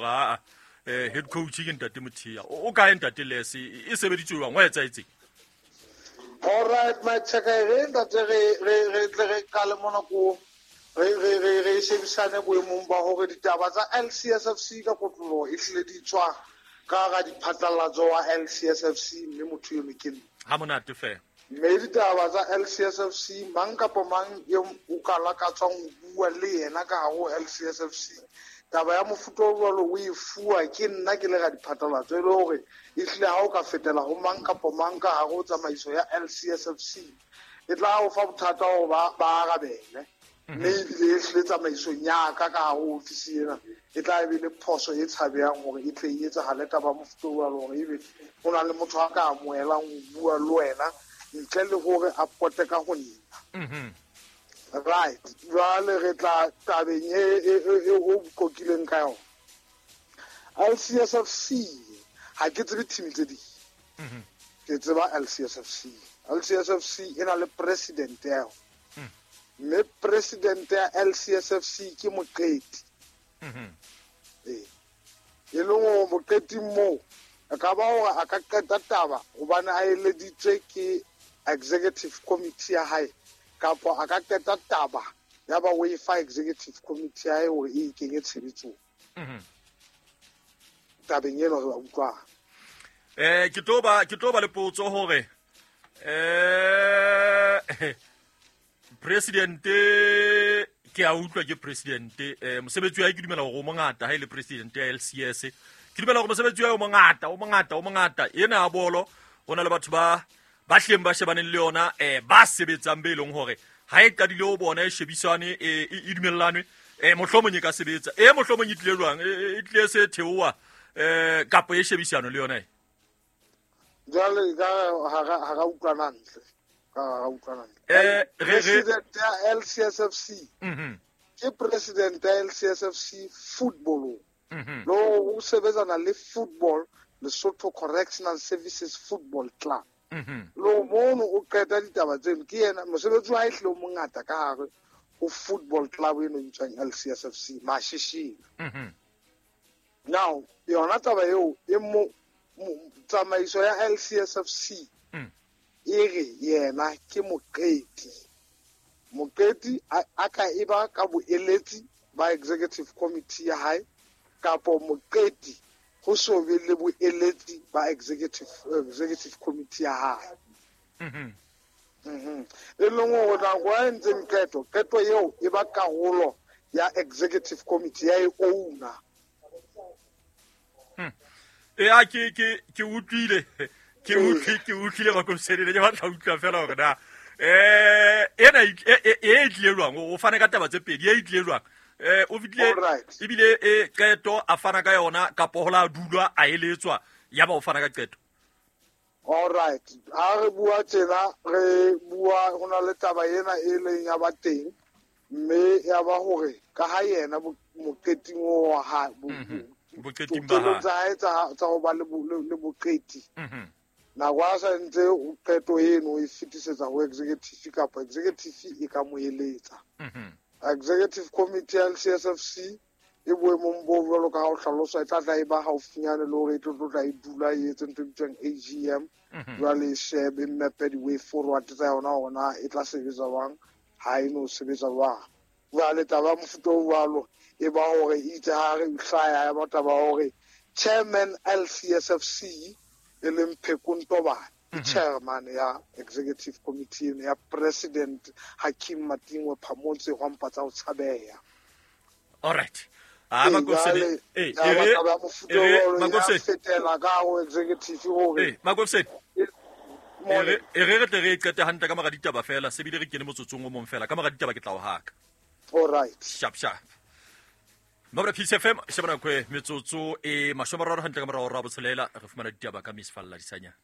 gore aa um head coach ke ntate Mothea. O kae ntate Les? E sebeditswe jwang? Wa etsaetseng? All right, my check re ntate re re re tle re qale mona ko re re re re shebisane boemong ba hore ditaba tsa LCSFC ka kotloloho e hlile di tswa ka ga diphatlalatso wa LCSFC, mme motho eno ke nna. Ha monate fela. Mme ditaba tsa LCSFC, mang kapa mang e o ka lakatswang ho bua le yena ka hare ho LCSFC, taba ya mofuta o jwalo o e fuwa ke nna ke le radiphatlalatso, e le hore ehlile ha o ka fetela ho mang kapa mang ka hare ho tsamaiso ya LCSFC, e tla o fa bothata hore ba arabele. Mme ebile ehlile tsamaisong ya ka ka hare ho ofisi ena e tla be le phoso e tshabehang hore e tle e etsahale taba ya mofuta o jwalo, hore ebe ho na le motho a ka amohelang ho bua le wena ntle le hore a pote ka ho nna. Right, jwale re tla tabeng e o qokileng ka yona. LCSFC, ha ke tsebe team tse ding, ke tseba LCSFC. LCSFC e na le president ya yona, mme president ya LCSFC ke Moqeti. Ee, e leng hore Moqeting moo e ka ba hore a ka qeta taba hobane a eleditswe ke executive committee ya hae, kapa a ka qeta taba ya ba o e fa executive committee ya hae hore e kenye tshebetsong. Tabeng eno re ba utlwang. Ke tlo ba le potso hore president ke a utlwa ke president, mosebetsi wa hae ke dumela hore o mongata ha e le president ya LCS. Ke dumela hore mosebetsi wa hae o mongata, o mongata, o mongata. Ena ya bolo ho na le batho ba hleng ba shebaneng le yona, ba sebetsang be leng hore ha e qadile ho bona e shebisane, e dumellanwe, mohlomong e ka sebetsa. Mohlomong e tlile jwang? E tlile se theoha, kapo e shebisano le yona e? Jwale ka ha ra utlwana ntle. Ka ha ra utlwana ntle. President ya LCSFC. Ke president ya LCSFC football. Lo o sebetsana le football, Lesotho Correctional Services Football Club. Lo mono o qeta ditaba tseno, ke yena mosebetsi wa hae hlile o mongata ka hare ho football club eno e bitswang LCSFC Mashishing. Now yona taba eo e mo tsamaiso ya LCSFC e re yena ke moqeti. Moqeti a ka e ba ka boeletsi ba executive committee ya hae, kapo moqeti ho so be le boeletsi ba executive committee ya hae. E leng hore nako a entseng qeto, qeto eo e ba karolo ya executive committee ya e owner. Ea ke utlwile, ke utlwile Makopsene, ke batla utlwa fela hore na ena e tlile jwang. O fane ka taba tse pedi, e tlile jwang? O fitlile ebile e qeto a fana ka yona, kapo ho la dulwa a eletswa ya ba o fana ka qeto. All right, ha re bua tjena re bua ho na le taba ena e leng ya ba teng, mme ya ba hore ka ha yena moqeting wa hae, boqeting ba hae tsa hae tsa ho ba le boqeti. Nako a sa ntse qeto eno e fetisetsa ho executive, kapa executive e ka mo eletsa. Executive committee ya LCSFC e boemong bo jwalo ka ha o hlalosa, e tla tla e ba haufinyane le hore e tlo tla e dula e etse ntho e bitswang AGM. Jwale e shebe mmepe di-way forward tsa yona hore na e tla sebetsa jwang, ha e no sebetsa jwang. Jwale taba ya mofuta o jwalo e ba hore itse ha re hlaya ya ba taba hore chairman LCSFC e leng Pheko Ntobane, ke chairman ya executive committee ya president Hakim Matingwe Phamotse hwampa tsa ho tshabeha. All right. Makopsene, fetela ka ho executive hore Makopsene, e re tle re qete hantle ka mora ditaba fela, se bile re kene motsotsong o mong fela ka mora ditaba ke tla o haka. All right. Sharp sharp. Mabra Peace FM, shebana kwe metsotso e 30 hantle ka mora hora ya botshelela, re fumana ditaba ka Miss Falla Disanyana.